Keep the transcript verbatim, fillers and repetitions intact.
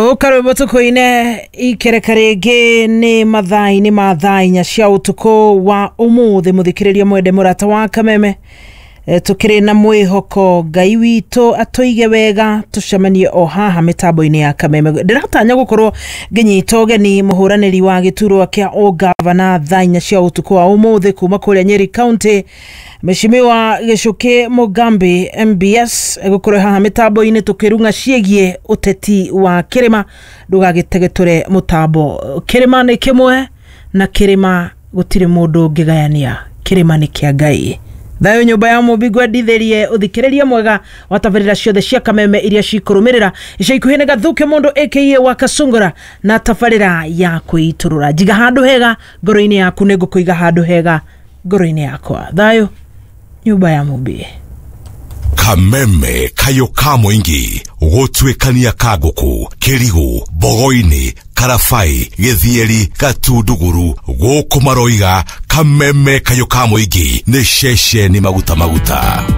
Thũka rwĩmbo tũkũine ikereka rĩngĩ nĩ mathaa-inĩ ma thaa inya cia ũtukũ wa ũmũthĩ. Mũthikĩrĩria mwende mũrata wa Kameme, e, tũkĩrĩ na mwĩhoko Ngai witũ atũige wega, tũcemanie o haha mĩtambo-inĩ ya Kameme. Ndĩratanya gũkorwo ngĩnyita ũgeni mũhũranĩri wa gĩturwa kĩa ũgavana thaa inya cia ũtukũ wa ũmũthĩ kuma kũrĩa Nyeri County, Mheshimiwa Gĩchũkĩ Mugambi M B S, egũkorwo haha mĩtambo-inĩ tũkĩrung'a ciĩgiĩ ũteti wa kĩrĩma. Ndũgagĩtegetũre mũtambo. Kĩrĩma nĩ kĩmwe na kĩrĩma gũtirĩ mũndũ ũngĩgayania, kĩrĩma nĩ kĩa Ngai. Thayũ nyũmba ya mũmbi, ngwendithĩrie ũthikĩrĩria mwega wa tabarĩra ciothe cia Kameme iria cikũrũmĩrĩra ica ikuhĩ. Nĩ Gathuke mũndũ aka wa Kasungura na tabarĩra ya kwĩitũrũra. Njiga handũ hega ngoro-inĩ yaku, nĩ ngũkũiga handũ hega ngoro-inĩ yakwa. Thayũ nyũmba ya mũmbi. Kameme kayo ka mũingĩ gũtuĩkania kangũkũ kĩrigũ Mbogo-inĩ, Karabai, Gĩthieri, Gatunduguru, gũkũ maroiga Kameme kayo ka mũingĩ nĩ ceceni maguta maguta.